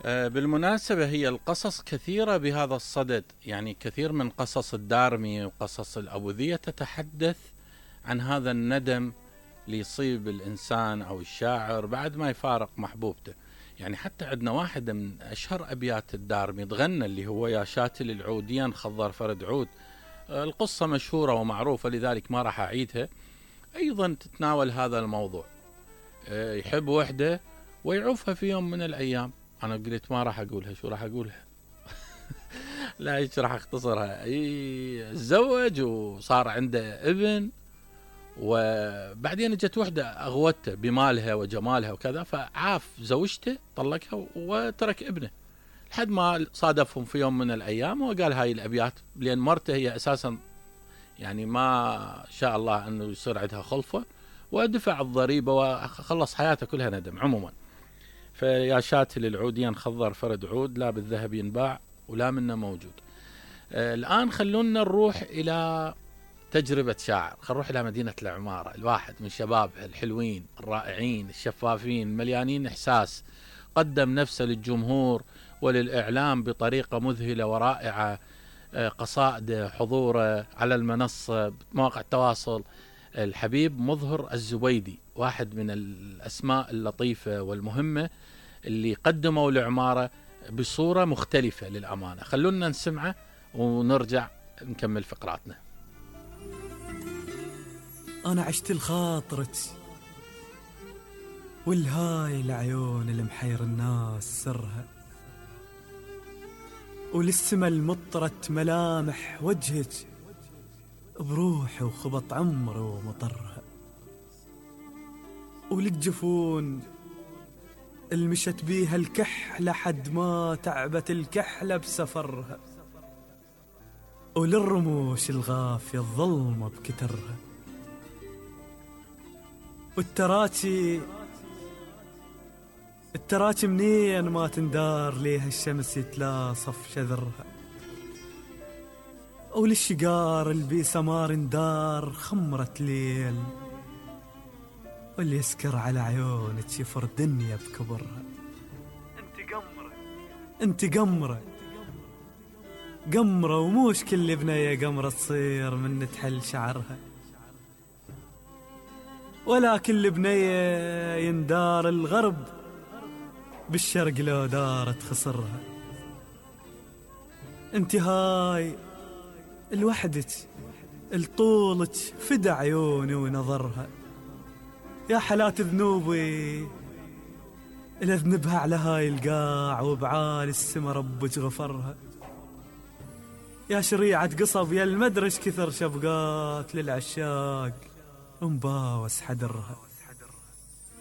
بالمناسبة هي القصص كثيرة بهذا الصدد، يعني كثير من قصص الدارمي وقصص الأبوذية تتحدث عن هذا الندم اللي يصيب الإنسان أو الشاعر بعد ما يفارق محبوبته. يعني حتى عندنا واحدة من أشهر أبيات الدارمي تغنى اللي هو يا شاتل العوديا خضر فرد عود. القصة مشهورة ومعروفة لذلك ما راح أعيدها. أيضا تتناول هذا الموضوع، يحب وحدة ويعوفها في يوم من الأيام. أنا قلت ما راح أقولها، شو راح أقولها؟ لا ايش راح اختصرها. تزوج وصار عنده ابن، وبعدين اجت وحده اغوته بمالها وجمالها وكذا، فعاف زوجته طلقها وترك ابنه، لحد ما صادفهم في يوم من الايام وقال هاي الابيات، لان مرته هي اساسا يعني ما شاء الله انه يصير عندها خلفه، ودفع الضريبه وخلص حياته كلها ندم. عموما فيا شاتل العودين خضر فرد عود، لا بالذهب ينباع ولا منه موجود. الآن خلونا نروح إلى تجربة شاعر، خلونا نروح إلى مدينة العمارة. الواحد من شبابها الحلوين الرائعين الشفافين مليانين إحساس، قدم نفسه للجمهور وللإعلام بطريقة مذهلة ورائعة. قصائده، حضوره على المنصة، مواقع التواصل. الحبيب مظهر الزبيدي واحد من الأسماء اللطيفة والمهمة اللي قدموا العمارة بصورة مختلفة للأمانة. خلونا نسمعه ونرجع نكمل فقراتنا. أنا عشت الخاطرة والهاي العيون اللي محير الناس سرها، وللسما المطرت ملامح وجهك بروح وخبط عمر ومطرها، وللجفون المشت بيها الكحلة حد ما تعبت الكحلة بسفرها، وللرموش الغافية الظلمة بكترها، والتراتي منين ما تندار ليها الشمس يتلاصف شذرها، وللشقار البي سمار ندار خمرة ليل، واللي يسكر على عيونك يفر دنيا بكبرها. انت قمرة وموش كل بنية قمرة تصير من تحل شعرها، ولا كل بنية يندار الغرب بالشرق لو دارت خسرها. انت هاي الوحدك الطولك فدى عيوني ونظرها، يا حالات ذنوبي إلا ذنبها على هاي القاع وبعالي السما ربك غفرها، يا شريعة قصب يا المدرش كثر شفقات للعشاق ومباوس حدرها.